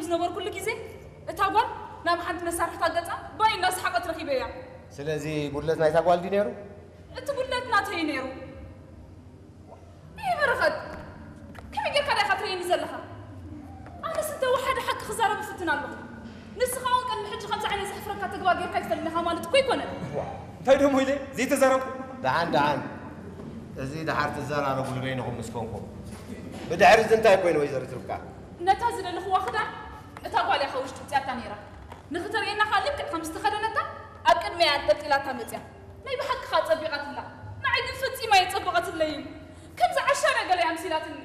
ዝነበርኩሉ ግዜ እታ ጓል ናብ ሓንቲ መሳርሕታ ገጻ ባይ እናሰሓቐት ረኺበያ። ስለዚ ጉድለት ናይታ ጓል ድዩ ነይሩ? እቲ ጉድለት ናተይ ነይሩ። ይህ በረኸት፣ ከመይ ጌርካ ዲኻ ትርእየኒ ዘለኻ? ኣነስ እንተ ወሓደ ሓቂ ክዛረብ እፍትን ኣለኹ። ንስኻ እውን ቅድሚ ሕጂ ከምዚ ዓይነት ዘሕፍረካ ተግባር ጌርካ ኣይትፈልጥን ኢኻ ማለት እኮ ኣይኮነን። እንታይ ደሞ ኢለ ዘይተዛረብኩ? ደሓን ደሓን፣ እዚ ደሓር ትዘራረቡሉ በይንኹም ምስ ኮንኩም። ብድሕሪ እዚ እንታይ ኮይኑ ወይዘሪት ርብቃ? ነታ ዝደለኽዋ ክዳን እታ ጓል እያ ካብ ውሽጢ ውፅያታ ነይራ። ንኽተርእየና ኸኣ ልክዕ ከም ዝተኸደነታ ኣብ ቅድመያ ኣንጠልጢላታ መፅያ። ናይ ብሓቂ ኸኣ ጸቢቓትላ። ንዓይ ግን ፈጺማ ኣይጸበቐትለይን። ከምዚ ዓሻ ነገር እያ ኣምሲላትኒ።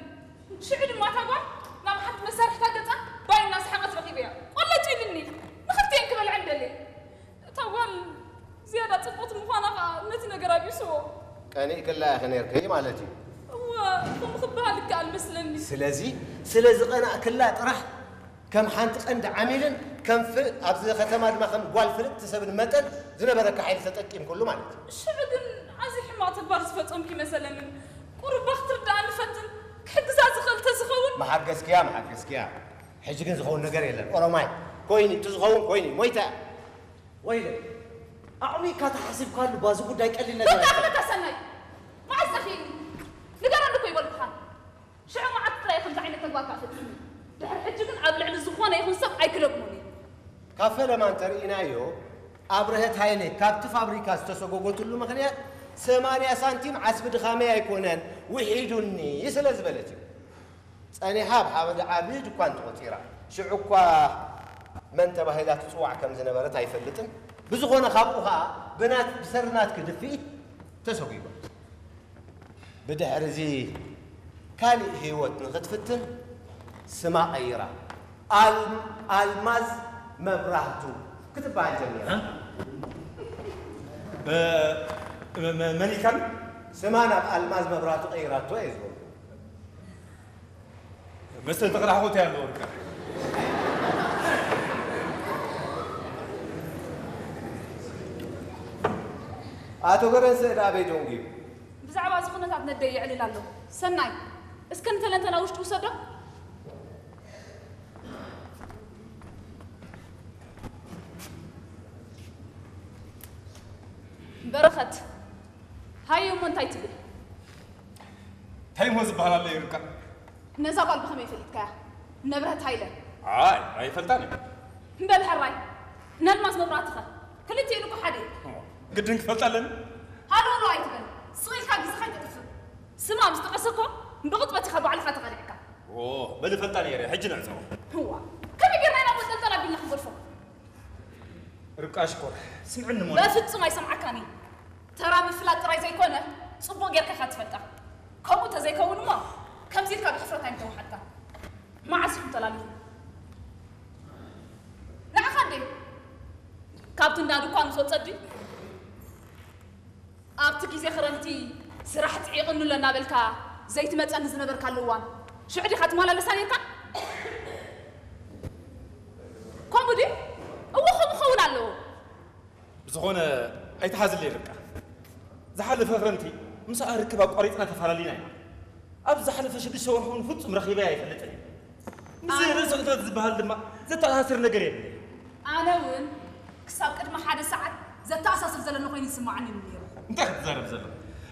ሽዑ ድማ እታ ጓል ናብ ሓንቲ መሳርሕታ ገጻ ባይ እናሰሓቐት ረኺበያ። ቆለጭ ኢልኒ። ንኽልቲኤን ክበልዐን ደልየ። እታ ጓል ዝያዳ ጽብቕቲ ምዃና ኸኣ ነቲ ነገር ኣቢስዎ። ቀኒእክላ ኢኺ ነይርኪ ማለት እዩ። እወ፣ ከምኡ ክበሃል ይከኣል መስለኒ። ስለዚ፣ ስለ ዝቐናእክላ ጥራሕ ከም ሓንቲ ቀንዲ ዓሚልን ከም ፍ-፣ ኣብዚ ከተማ ድማ ከም ጓል ፍልጥቲ ሰብን መጠን ዝነበረካ ሓይሊ ተጠቂምክሉ ማለት እዩ። ሽዑ ግን ኣዝዩ ሕማቕ ተግባር ዝፈጸምኩ ይመሰለንን። ቁሩብ ክትርድኣኒ ፈትን፣ ክሕግዛ ዝኽእል ተዝኸውን። መሓገዝክያ፣ መሓገዝክያ። ሕጂ ግን ዝኸውን ነገር የለን። ኦሮማይ፣ ኮይኒ፣ እቲ ዝኸውን ኮይኒ፣ ሞይታ። ወይለ፣ ኣዕሚቕካ ተሓሲብካሉ፣ ባዚ ጉዳይ ቀሊል ነገር በቃ ኣይኮነን። በቃ ሰናይ፣ መዓስ ጸኺኒ? ንገረኒ እኮ ይበልኩኻ። ሽዑ መዓት ጥራይ ከምዚ ዓይነት ተግባር ከኣ ፈጺሙ። ድሕሪ ሕጂ ግን ኣብ ልዕሊ ዝኾነ ይኹን ሰብ ኣይክደግሞን እየ። ካብ ፈለማ እንተርኢናዮ፣ ኣብርሀት ሃይለ ካብቲ ፋብሪካ ዝተሰጎጎትሉ ምኽንያት ሰማንያ ሳንቲም ዓስቢ ድኻመይ ኣይኮነን፣ ውሒዱኒ ስለ ዝበለት እዩ። ጸኒሓ ኣብ ሓደ ዓቢ ድኳን ተቖጺራ። ሽዑ እኳ መን ተባሂላ ትጽዋዕ ከም ዝነበረት ኣይፈልጥን። ብዝኾነ ካብኡ ኸኣ ብናት-፣ ብሰሪ ናትኪ ድፍኢት ተሰጒጓ። ብድሕሪ እዚ ካልእ ህይወት ንኽትፍትን ስማ ቀይራ። ኣል-፣ ኣልማዝ መብራህቱ ክትበሃል ጀሚራ። እ? በ-፣ መ-፣ መ-፣ መን ኢልካኒ? ስማ ናብ ኣልማዝ መብራህቱ ቀይራቶ እየ ዝበልኩ። መስተንክር ሓወት ያለው ወርቃ። ኣቶ ገረንሰ ደኣ ኣበይ ደንጉዩ? ብዛዕባ እዚ ኩነታት ነደይ የዕልል ኣሎ። ሰናይ፣ እስከ ንተለንተና ውሽጢ ውሰዶ። በረኸት፣ ሃየ እሞ እንታይ ትብል? እንታይ እሞ ዝበሃል ኣሎ ይርቃ? ነዛ ጓል ብኸመይ ፈሊጥካያ? ንብረት ሃይለ። ኣይ፣ ኣይፈልጣን እየ። በል ሕራይ፣ ነልማዝ መብራህትኸ? ክልቲኤን እኮ ሓደ እዩ። ግድን ክፈልጣ ኣለኒ? ሃሎ ሃሎ ኣይትበል። ስቕ ኢልካ ግዜኻ ኣይተጥፍእ። ስማ ምስ ጠቐሰ እኮ ብቕጽበት ኢኻ ባዕልኻ ተቐሊዕካ። ኦ፣ በል እፈልጣ ነይረ፣ ሕጂ ንዕጸዎ። እዋ፣ ከመይ ጌርና ኢና መንጠልጠል ኣቢልና ክንገድፎ? ርብቃ ሽኮር፣ ስምዕኒ እሞ። በፍጹም ኣይሰምዓካን እየ። ተራ ምፍላጥ ጥራይ ዘይኮነ፣ ጽቡቕ ጌርካ ኢኻ ትፈልጣ። ከምኡ ተዘይከውን እሞ፣ ከምዚ ኢልካ ብሕፍረት ኣይምተዋሓጥካን። መዓስ ኢኹም ተላሊኹም? ንዓኻ እንዴ? ካብቲ እንዳ ድኳን ምስ ወጸ ድዩ? ኣብቲ ግዜ ክረምቲ ስራሕ ጽዒቕኒ ኣሎ እናበልካ ዘይትመጸኒ ዝነበርካሉ እዋን፣ ሽዑ ዲኻ ትመላለሳ ኔርካ? ከምኡ ድዩ? እወ፣ ከምኡ ክኸውን ኣለዎ። ብዝኾነ ኣይትሓዝለይ ርብቃ። ዝሓለፈ ክረምቲ ምስኣ ርክብ ኣቋሪጽና ተፈላለዩና ኢና። ኣብ ዝሓለፈ ሽዱሽተ ወርሒ እውን ፍጹም ረኺበያ ኣይፈልጥን እየ። ምስ ኣነ ርእሰ ቅትለት ዝበሃል ድማ ዘተኣሳስር ነገር የብለይ። ኣነ እውን ክሳብ ቅድሚ ሓደ ሰዓት ዘተኣሳስር ዘለኒ ኮይኑ ይስምዓኒ እዩ ነይሩ። እንታይ ክትዛረብ ዘለኻ?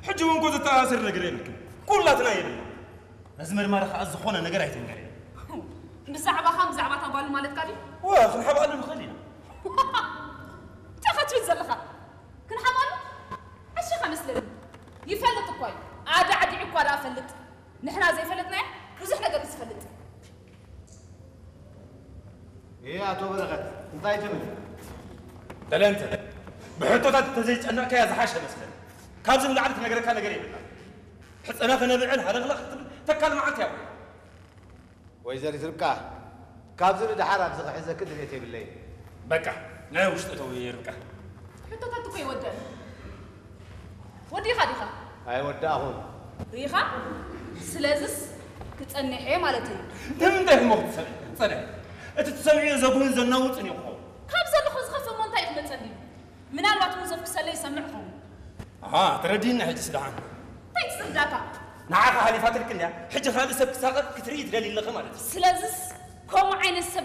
ሕጂ እውን እኮ ዘተኣሳስር ነገር የብልክን። ኩላትና የብልና። ነዚ መርማሪ ከኣ ዝኾነ ነገር ኣይትንገርዮ። ብዛዕባኻን ብዛዕባ እታ ጓልን ማለትካ ድዩ? እወ፣ ክንሓብኣሉ ንኽእል ኢና። እንታይ ኢኻ ትብል ዘለኻ? ክንሓብኣሉ? ዓሺኻ መስለኒ። ይፈልጥ እኳ እዩ። ኣዳዕዲዑ እኳ ደኣ ፈልጥ። ንሕና ዘይፈለጥናዮ ብዙሕ ነገር እዩ ዝፈልጥ። እየ፣ ኣቶ በረኸት፣ እንታይ ትብል? ተለንተ፣ ብሕቶታት እንተዘይጨነቕካያ ዝሓሸ መስለኒ። ካብዚ ንላዕሊ ትነግረካ ነገር የብላን። ሕጸና ከነብዕል ሃለኽለኽ ክትብል ተካል መዓልቲ እያ። ወይዘሪት ርብቃ፣ ካብዚ ንደሓር ኣብዚ ክሕዘኪ ድሌት የብለይን። በቃ፣ ናይ ውሽጢ እተው ርብቃ። ሕቶታት እኮ ይወደን። ወዲኻ ዲኻ? ኣይወዳእኹን። ርኢኻ? ስለዝስ ክጸንሕ እየ ማለት እዩ። ንምንታይ እሞ ክትጸንሕ? ጸንሕ። እቲ ትሰምዕዮ ዘጉህን ዘናውጽን እዩ ክኸውን። ካብ ዘለኹ ዝኸፍእ እሞ እንታይ እዩ ክመጸኒ? ምናልባት ሙዞፍ ክሰለ ይሰምዕ ኸውን። ኣሃ፣ ተረዲእና ሕጂ ስደሓን። እንታይ ትስርዳካ? ንዓኻ ሓሊፋትልክ እንድያ፣ ሕጂ ካልእ ሰብ ክሳቐጥ ክትርኢ ትደሊ ኣለኺ ማለት እዩ። ስለዝስ ከምኡ ዓይነት ሰብ